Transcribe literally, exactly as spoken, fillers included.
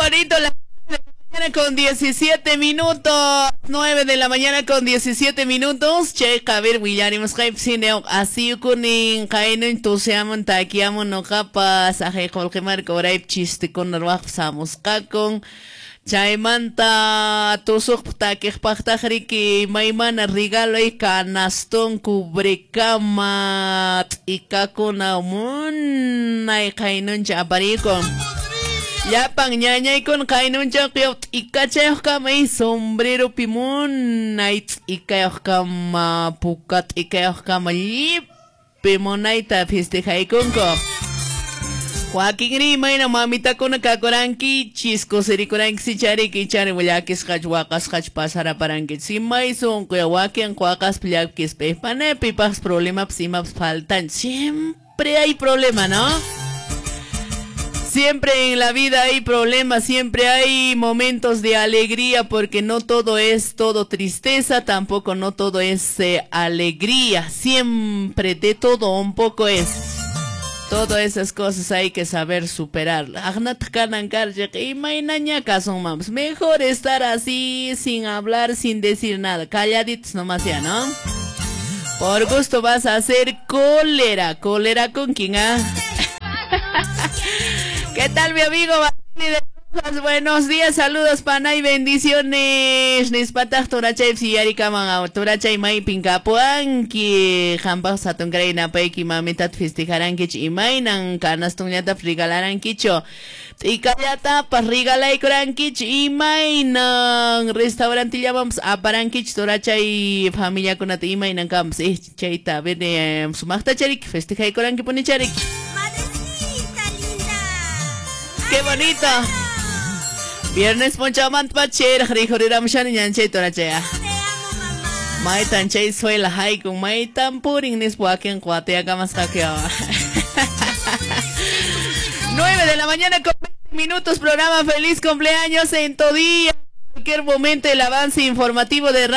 Bonito la mañana con diecisiete minutos, nueve de la mañana con diecisiete minutos. Che, a ver, willarimos qaypsineo asiyukunin qaynun tusiamun takiamun noqapas ajay qullqimarka uraypi chistikuna ruwaqpas hamusqakun. Chaymanta tusuqpaq takiqpaqtaq riki imaymana regaloy canastón cubrekama t'ikakuna munay qaynuncha aparikun. Llapan ñañaykuna qaynunchawqa t'ikachayuqkama y sombreropi munay t'ikayuqkama puka t'ikayuqkama llipi munayta festejaykunku. Wakinri imayna mamitakuna kakurankichis kusirikurankichis chariki chari llakisqachu waqasqachu pasaraparankichis imay sunquya wakin waqaspa llakispa panapipaqpas problemapas imapas faltan. Siempre hay problema, ¿no? Siempre en la vida hay problemas, siempre hay momentos de alegría, porque no todo es todo tristeza, tampoco no todo es eh, alegría, siempre de todo un poco es. Todas esas cosas hay que saber superar. Mejor estar así, sin hablar, sin decir nada, calladitos nomás ya, ¿no? Por gusto vas a hacer cólera, cólera con quién, ¿ah? ¿Qué tal, mi amigo? Buenos días, saludos, pana y bendiciones. Nispataq turachay siyarikaman turachay maypin kapuanki. Qampaq hatunkaray napayki mamitat festejarankichu imaynan canastonllata regalarankichu. T'ikallatapas regalaykurankichu imaynan restaurantillamanpas aparankichu turachay familiakunata imaynan kanpas eh chayta a ver sumaqta chariki festejaykuranki chariki. ¡Qué bonito! Viernes p'unchawmanta pachayraq rikhuriramushani ñanchay turachaya. Maytan chay suela haykun maytan purin nispa wakin qatiyakamasqaku. nueve de la mañana con veinte minutos, programa Feliz Cumpleaños en tu día. En cualquier momento el avance informativo de